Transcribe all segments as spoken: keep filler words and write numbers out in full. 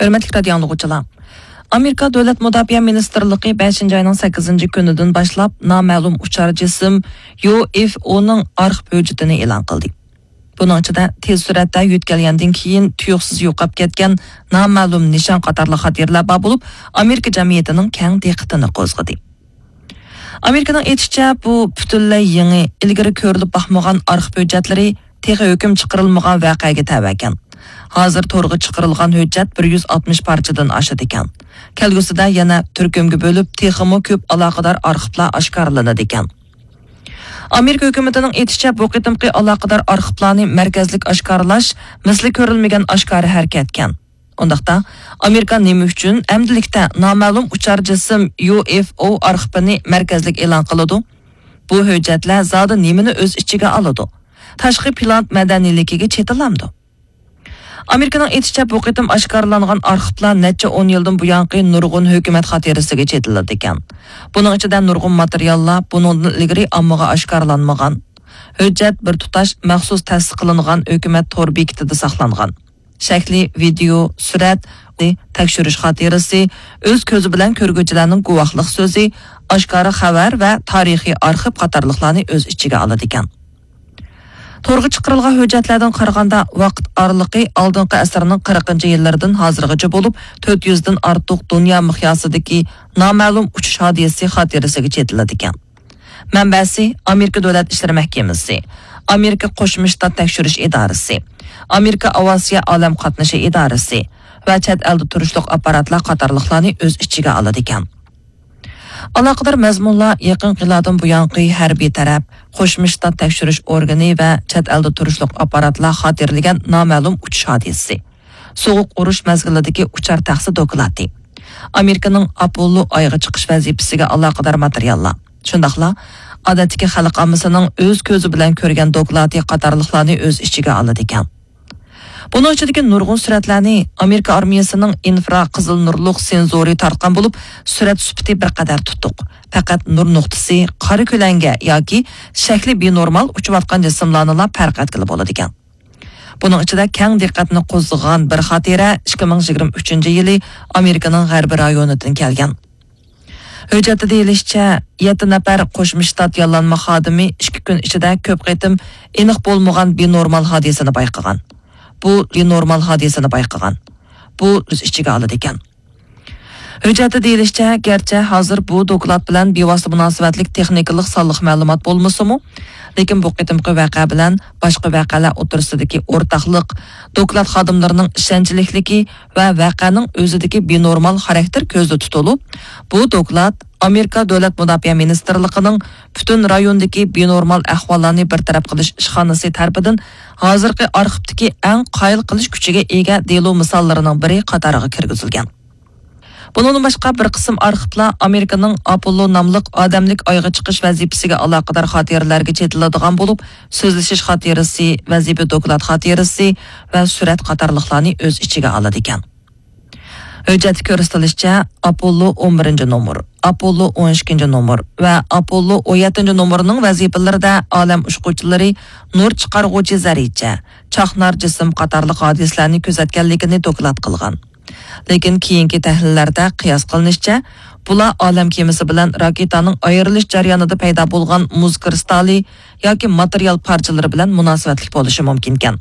ھۆرمەتلىك رادىيو ئاڭلىغۇچىلار! ئامېرىكا دۆلەت مۇداپىئە مىنىستىرلىقى بەشىنچى ئاينىڭ سەككىزىنچى كۈنىدىن باشلاپ نامەلۇم ئۇچار جىسىم يۇ ئېف ئونىڭ ئارخىپ ھۆججىتىنى ئېلان قىلدى. بۇنىڭ ئىچىدە تېز سۈرئەتتە يۆتكەلگەندىن كېيىن تۇيۇقسىز يوقاپ كەتكەن نامەلۇم نىشان قاتارلىق خاتىرىلەر بار بولۇپ، ئامېرىكا جەمئىيىتىنىڭ كەڭ دىققىتىنى قوزغىدى. ئامېرىكىنىڭ ئېيتىشىچە، بۇ پۈتۈنلەي يېڭى، ئىلگىرى كۆرۈلۈپ باقمىغان ئارخىپ ھۆججەتلىرى تېخى ھۆكۈم چىقىرىلمىغان ۋەقەگە تەۋە ئىكەن. ھازىر تورغا چىقىرىلغان ھۆججەت بىر يۈز ئاتمىش پارچىدىن ئاشىدىكەن. كەلگۈسىدە يەنە تۈركۈمگە بۆلۈپ، تېخىمۇ كۆپ ئالاقىدار ئارخىپلار ئاشكارىلىنىدىكەن. ئامېرىكا ھۆكۈمىتىنىڭ ئېيتىشىچە، بۇ قېتىمقى ئالاقىدار ئارخىپلارنى مەركەزلىك ئاشكارىلاش مىسلى كۆرۈلمىگەن ئاشكارا ھەرىكەتكەن. ئۇنداقتا، ئامېرىكا نېمە ئۈچۈن ئەمدىلىكتە نامەلۇم ئۇچار جىسىم يۇ ئېف ئو ئارخىپىنى مەركەزلىك ئېلان قىلىدۇ؟ بۇ ھۆججەتلەر زادى نېمىنى ئۆز ئىچىگە ئالىدۇ؟ تاشقى پىلان مەدەنىيلىكىگە چېتىلامدۇ؟ ئامېرىكىنىڭ ئېيتىشىچە، بۇ قېتىم ئاشكارىلانغان ئارخىپلار نەچچە ئون يىلدىن بۇيانقى نۇرغۇن ھۆكۈمەت خاتىرىسىگە چېتىلىدىكەن. بۇنىڭ ئىچىدە نۇرغۇن ماتېرىياللار بۇنىڭدىن ئىلگىرى ئاممىغا ئاشكارىلانمىغان. ھۆججەت بىر تۇتاش مەخسۇس تەسىس قىلىنغان ھۆكۈمەت تور بېكىتىدە ساقلانغان. شەكلى، ۋىدېئو، سۈرەت، تەكشۈرۈش خاتىرىسى، ئۆز كۆزى بىلەن كۆرگۈچىلەرنىڭ گۇۋاھلىق سۆزى، ئاشكارا خەۋەر ۋە تارىخىي ئارخىپ قاتارلىقلارنى ئۆز ئىچىگە ئالىدىكەن. تورغا چىقىرىلغان ھۆججەتلەردىن قارىغاندا، ۋاقىت ئارىلىقى ئالدىنقى ئەسىرنىڭ قىرىقىنچى يىللىرىدىن ھازىرغىچە بولۇپ، تۆت يۈزدىن ئارتۇق دۇنيا مىقياسىدىكى نامەلۇم ئۇچۇش ھادىسىسى خاتىرىسىگە چېتىلىدىكەن. مەنبەسى: ئامېرىكا دۆلەت ئىشلىرى مەھكىمىسى، ئامېرىكا قوشما شتات تەكشۈرۈش ئىدارىسى، ئامېرىكا ئاۋىئاتسىيە ئالەم قاتنىشى ئىدارىسى ۋە چەت ئەلدە تۇرۇشلۇق ئاپپاراتلار قاتارلىقلارنى ئۆز ئىچىگە ئالىدىكەن. ئالاقىدار مەزمۇنلار يېقىنقى يىللاردىن بۇيانقى ھەربىي تەرەپ، قوشما شتات تەكشۈرۈش ئورگىنى ۋە چەت ئەلدە تۇرۇشلۇق ئاپپاراتلار خاتىرىلىگەن نامەلۇم ئۇچۇش ھادىسىسى، سوغۇق ئۇرۇش مەزگىلىدىكى ئۇچار تەخسە دوكلاتى، ئامېرىكىنىڭ ئاپوللو ئايغا چىقىش ۋەزىپىسىگە ئالاقىدار ماتېرىياللار، شۇنداقلا ئادەتتىكى خەلق ئاممىسىنىڭ ئۆز كۆزى بىلەن كۆرگەن دوكلاتى قاتارلىقلارنى ئۆز ئىچىگە ئالىدىكەن. بۇنىڭ ئىچىدىكى نۇرغۇن سۈرەتلەرنى ئامېرىكا ئارمىيەسىنىڭ ئىنفرا قىزىل نۇرلۇق سېنزورى تارتقان بولۇپ، سۈرەت سۈپىتى بىر قەدەر تۇتۇق. پەقەت نۇر نۇقتىسى، قارا كۆلەڭگە ياكى شەكلى بىنورمال ئۇچۇۋاتقان جىسىملارنىلا پەرق ئەتكىلى بولىدىكەن. بۇنىڭ ئىچىدە كەڭ دىققەتنى قوزغىغان بىر خاتىرە ئىككى مىڭ يىگىرمە ئۈچىنچى يىلى ئامېرىكىنىڭ غەربىي رايونىدىن كەلگەن. ھۆججەتتە دېيىلىشىچە، يەتتە نەپەر قوشما شتات ياللانما خادىمى ئىككى كۈن ئىچىدە كۆپ قېتىم ئېنىق بولمىغان بىنورمال ھادىسىنى بايقىغان. بۇ بىنورمال ھادىسىنى بايقىغان. بۇ ئۆز ئىچىگە ئالىدىكەن. ھۆججەتتە دېيىلىشىچە، گەرچە ھازىر بۇ دوكلات بىلەن بىۋاسىتە مۇناسىۋەتلىك تېخنىكىلىق سانلىق مەلۇمات بولمىسىمۇ، لېكىن بۇ قېتىمقى ۋەقە بىلەن باشقا ۋەقەلەر ئوتتۇرىسىدىكى ئورتاقلىق، دوكلات خادىملىرىنىڭ ئىشەنچلىكلىكى ۋە ۋەقەنىڭ ئۆزىدىكى بىنورمال خاراكتېر كۆزدە تۇتۇلۇپ، بۇ دوكلات ئامېرىكا دۆلەت مۇداپىئە مىنىستىرلىقىنىڭ پۈتۈن رايوندىكى بىنورمال ئەھۋاللارنى بىر تەرەپ قىلىش ئىشخانىسى تەرىپىدىن ھازىرقى ئارخىپتىكى ئەڭ قايىل قىلىش كۈچىگە ئىگە دېلو مىساللىرىنىڭ بىرى قاتارىغا كىرگۈزۈلگەن. بۇنىڭدىن باشقا، بىر قىسىم ئارخىپلار ئامېرىكىنىڭ ئاپوللو ناملىق ئادەملىك ئايغا چىقىش ۋەزىپىسىگە ئالاقىدار خاتىرىلەرگە چېتىلىدىغان بولۇپ، سۆزلىشىش خاتىرىسى، ۋەزىپە دوكلات خاتىرىسى ۋە سۈرەت قاتارلىقلارنى ئۆز ئىچىگە ئالىدىكەن. ھۆججەتتە كۆرسىتىلىشىچە، ئاپوللو ئون بىرىنچى نومۇر، ئاپوللو ئون ئىككىنچى نومۇر ۋە ئاپوللو ئون يەتتىنچى نومۇرنىڭ ۋەزىپىلىرىدە ئالەم ئۇچقۇچىلىرى نۇر چىقارغۇچى زەررىچە، چاقنار جىسىم قاتارلىق ھادىسىلەرنى كۆزەتكەنلىكىنى دوكلات قىلغان. لېكىن كېيىنكى تەھلىللەردە قىياس قىلىنىشىچە، بۇلار ئالەم كېمىسى بىلەن راكېتانىڭ ئايرىلىش جەريانىدا پەيدا بولغان مۇز كىرىستالى ياكى ماتېرىيال پارچىلىرى بىلەن مۇناسىۋەتلىك بولۇشى مۇمكىنكەن.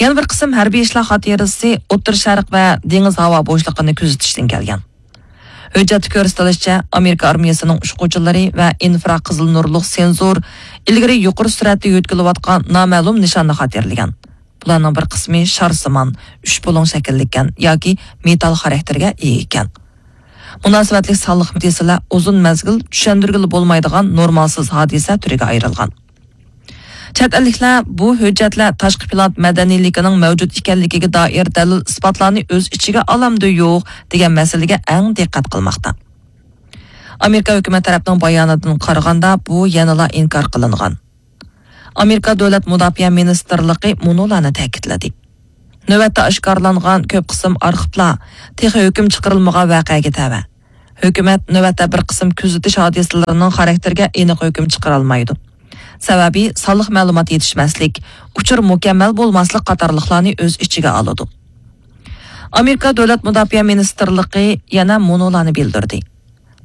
يەنە بىر قىسىم ھەربىي ئىشلار خاتىرىسى ئوتتۇرا شەرق ۋە دېڭىز ھاۋا بوشلۇقىنى كۆزىتىشتىن كەلگەن. ھۆججەتتە كۆرسىتىلىشىچە، ئامېرىكا ئارمىيەسىنىڭ ئۇچقۇچىلىرى ۋە ئىنفرا قىزىل نۇرلۇق سېنزور ئىلگىرى يۇقىرى سۈرئەتتە يۆتكىلىۋاتقان نامەلۇم نىشاننى خاتىرىلىگەن. بۇلارنىڭ بىر قىسمى شارسىمان، ئۈچ بۇلۇڭ شەكىللىككەن ياكى مېتال خاراكتېرگە ئىگە ئىكەن. مۇناسىۋەتلىك سانلىق مەسىلە ئۇزۇن مەزگىل چۈشەندۈرگىلى بولمايدىغان نورمالسىز ھادىسە تۈرىگە ئايرىلغان. چەت ئەللىكلەر بۇ ھۆججەتلەر تاشقى پىلان مەدەنىيلىكىنىڭ مەۋجۇت ئىكەنلىكىگە دائىر دەلىل-ئىسپاتلارنى ئۆز ئىچىگە ئالامدۇ يوق دېگەن مەسىلىگە ئەڭ دىققەت قىلماقتا. ئامېرىكا ھۆكۈمەت تەرەپنىڭ باياناتىدىن قارىغاندا، بۇ يەنىلا ئىنكار قىلىنغان. ئامېرىكا دۆلەت مۇداپىئە مىنىستىرلىقى مۇنۇلارنى تەكىتلىدى: نۆۋەتتە ئاشكارىلانغان كۆپ قىسىم ئارخىپلار تېخى ھۆكۈم چىقىرىلمىغان ۋەقەگە تەۋە. ھۆكۈمەت نۆۋەتتە بىر قىسىم كۆزىتىش ھادىسىلىرىنىڭ خاراكتېرىگە ئېنىق ھۆكۈم چىقىرالمايدۇ. سەۋەبى، سانلىق مەلۇمات يېتىشمەسلىك، ئۇچۇر مۇكەممەل بولماسلىق قاتارلىقلارنى ئۆز ئىچىگە ئالىدۇ. ئامېرىكا دۆلەت مۇداپىئە مىنىستىرلىقى يەنە مۇنۇلارنى بىلدۈردى: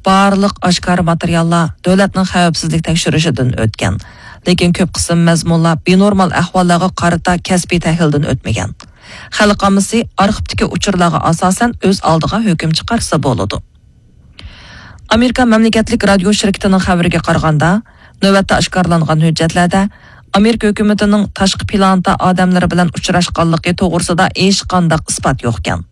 بارلىق ئاشكارا ماتېرىياللار دۆلەتنىڭ خەۋپسىزلىك تەكشۈرۈشىدىن ئۆتكەن، لېكىن كۆپ قىسىم مەزمۇنلار بىنورمال ئەھۋاللارغا قارىتا كەسپىي تەھلىلدىن ئۆتمىگەن. خەلق ئاممىسى ئارخىپتىكى ئۇچۇرلارغا ئاساسەن ئۆز ئالدىغا ھۆكۈم چىقارسا بولىدۇ. ئامېرىكا مەملىكەتلىك رادىيو شىركىتىنىڭ خەۋىرىگە قارىغاندا، نۆۋەتتە ئاشكارىلانغان ھۆججەتلەردە ئامېرىكا ھۆكۈمىتىنىڭ تاشقى پلانېتا ئادەملىرى بىلەن ئۇچراشقانلىقى توغرىسىدا ھېچقانداق ئىسپات يوقكەن.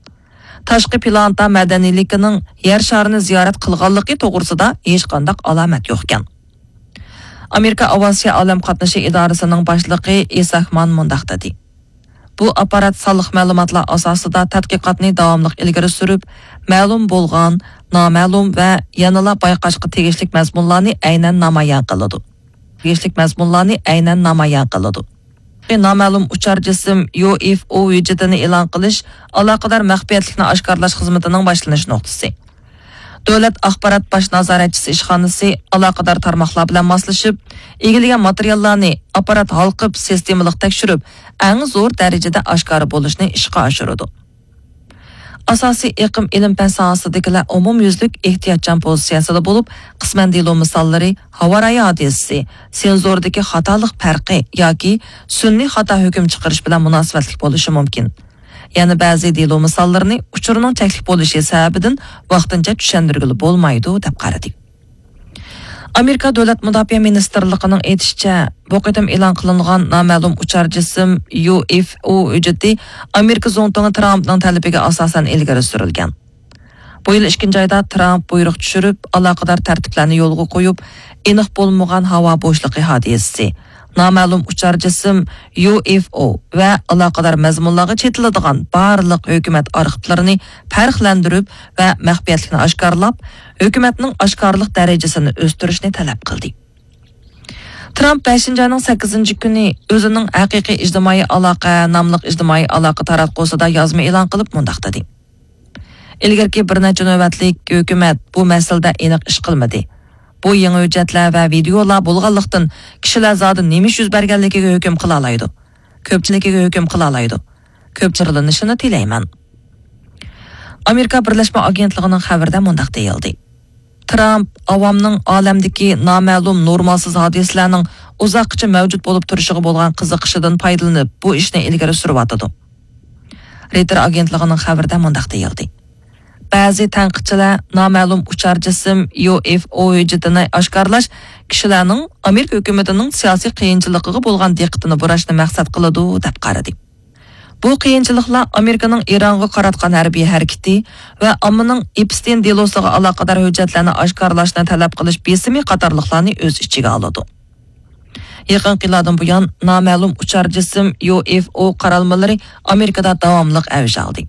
تاشقى پلانېتا مەدەنىيلىكىنىڭ يەر شارىنى زىيارەت قىلغانلىقى توغرىسىدا ھېچقانداق ئالامەت يوقكەن. ئامېرىكا ئاۋىئاتسىيە ئالەم قاتنىشى ئىدارىسىنىڭ باشلىقى ئىساكمان مۇنداق دېدى: بۇ ئاپپارات سانلىق مەلۇماتلار ئاساسىدا تەتقىقاتنى داۋاملىق ئىلگىرى سۈرۈپ، مەلۇم بولغان، نامەلۇم ۋە يەنىلا بايقاشقا تېگىشلىك مەزمۇنلارنى ئەينەن نامايان قىلىدۇ. تېگىشلىك مەزمۇنلارنى ئەينەن نامايان قىلىدۇ. نامەلۇم ئۇچار جىسىم يۇ ئېف ئو ھۆججىتىنى ئېلان قىلىش ئالاقىدار مەخپىيەتلىكنى ئاشكارىلاش خىزمىتىنىڭ باشلىنىش نۇقتىسى. دۆلەت ئاخبارات باش نازارەتچىسى ئىشخانىسى ئالاقىدار تارماقلار بىلەن ماسلىشىپ، ئىگىلىگەن ماتېرىياللارنى ئاپپارات ھالقىپ سىستېمىلىق تەكشۈرۈپ، ئەڭ زور دەرىجىدە ئاشكارا بولۇشنى ئىشقا ئاشۇرىدۇ. ئاساسىي ئېقىم ئىلىم-پەن ساھەسىدىكىلەر ئومۇميۈزلۈك ئېھتىياتچان پوزىتسىيەسىدە بولۇپ، قىسمەن دېلو مىساللىرى ھاۋارايى ھادىسىسى، سېنزوردىكى خاتالىق پەرقى ياكى سۈنئىي خاتا ھۆكۈم چىقىرىش بىلەن مۇناسىۋەتلىك بولۇشى مۇمكىن. يەنە بەزى دېلو مىساللىرىنى ئۇچۇرنىڭ چەكلىك بولۇشى سەۋەبىدىن ۋاقتىنچە چۈشەندۈرگىلى بولمايدۇ، دەپ قارىدى. ئامېرىكا دۆلەت مۇداپىئە مىنىستىرلىقىنىڭ ئېيتىشىچە، بۇ قېتىم ئېلان قىلىنغان نامەلۇم ئۇچار جىسىم يۇ ئېف ئو ھۆججىتى ئامېرىكا زۇڭتۇڭى ترامپنىڭ تەلىپىگە ئاساسەن ئىلگىرى سۈرۈلگەن. بۇ يىل ئىككىنچى ئايدا ترامپ بۇيرۇق چۈشۈرۈپ، ئالاقىدار تەرتىپلەرنى يولغا قويۇپ، ئېنىق بولمىغان ھاۋا بوشلۇقى ھادىسىسى، نامەلۇم ئۇچار جىسىم يۇ ئېف ئو ۋە ئالاقىدار مەزمۇنلارغا چېتىلىدىغان بارلىق ھۆكۈمەت ئارخىپلىرىنى پەرقلەندۈرۈپ ۋە مەخپىيەتلىكنى ئاشكارىلاپ، ھۆكۈمەتنىڭ ئاشكارىلىق دەرىجىسىنى ئۆستۈرۈشنى تەلەپ قىلدى. ترامپ بەشىنچى ئاينىڭ سەككىزىنچى كۈنى ئۆزىنىڭ ھەقىقىي ئىجتىمائىي ئالاقە ناملىق ئىجتىمائىي ئالاقە تاراتقۇسىدا يازما ئېلان قىلىپ مۇنداق دېدى: ئىلگىرىكى بىر نەچچە نۆۋەتلىك ھۆكۈمەت بۇ مەسىلىدە ئېنىق ئىش قىلمىدى. بۇ يېڭى ھۆججەتلەر ۋە ۋىدېئولار بولغانلىقتىن، كىشىلەر زادى نېمە ئىش يۈز بەرگەنلىكىگە ھۆكۈم قىلالايدۇ. كۆپچىلىكىگە ھۆكۈم قىلالايدۇ. كۆپچىلىنىشىنى تىلەيمەن. ئامېرىكا بىرلەشمە ئاگېنتلىقىنىڭ خەۋىرىدە مۇنداق دېيىلدى: ترامپ ئاۋامنىڭ ئالەمدىكى نامەلۇم نورمالسىز ھادىسىلەرنىڭ ئۇزاققىچە مەۋجۇت بولۇپ تۇرۇشىغا بولغان قىزىقىشىدىن پايدىلىنىپ، بۇ ئىشنى ئىلگىرى سۈرۈۋاتىدۇ. رېيتېر ئاگېنتلىقىنىڭ خەۋىرىدە مۇنداق دېيىلدى: بەزى تەنقىدچىلەر نامەلۇم ئۇچار جىسىم يۇ ئېف ئو ھۆججىتىنى ئاشكارىلاش كىشىلەرنىڭ ئامېرىكا ھۆكۈمىتىنىڭ سىياسىي قىيىنچىلىقىغا بولغان دىققىتىنى بۇراشنى مەقسەت قىلىدۇ، دەپ قارىدى. بۇ قىيىنچىلىقلار ئامېرىكىنىڭ ئىرانغا قاراتقان ھەربىي ھەرىكىتى ۋە ئاممىنىڭ ئېپستېين دېلوسىغا ئالاقىدار ھۆججەتلەرنى ئاشكارىلاشنى تەلەپ قىلىش بېسىمى قاتارلىقلارنى ئۆز ئىچىگە ئالىدۇ. يېقىنقى يىللاردىن بۇيان نامەلۇم ئۇچار جىسىم يۇ ئېف ئو قارالمىلىرى ئامېرىكىدا داۋاملىق ئەۋج ئالدى.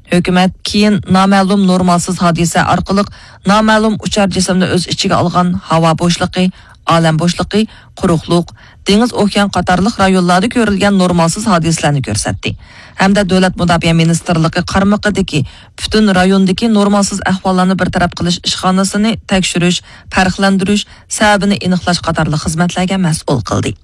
ھۆكۈمەت كېيىن نامەلۇم نورمالسىز ھادىسە ئارقىلىق نامەلۇم ئۇچار جىسىمنى ئۆز ئىچىگە ئالغان ھاۋا بوشلۇقى، ئالەم بوشلۇقى، قۇرۇقلۇق، دېڭىز ئوكيان قاتارلىق رايونلاردا كۆرۈلگەن نورمالسىز ھادىسىلەرنى كۆرسەتتى ھەمدە دۆلەت مۇداپىئە مىنىستىرلىقى قارمىقىدىكى پۈتۈن رايوندىكى نورمالسىز ئەھۋاللارنى بىر تەرەپ قىلىش ئىشخانىسىنى تەكشۈرۈش، پەرقلەندۈرۈش، سەۋەبىنى ئېنىقلاش قاتارلىق خىزمەتلەرگە مەسئۇل قىلدى.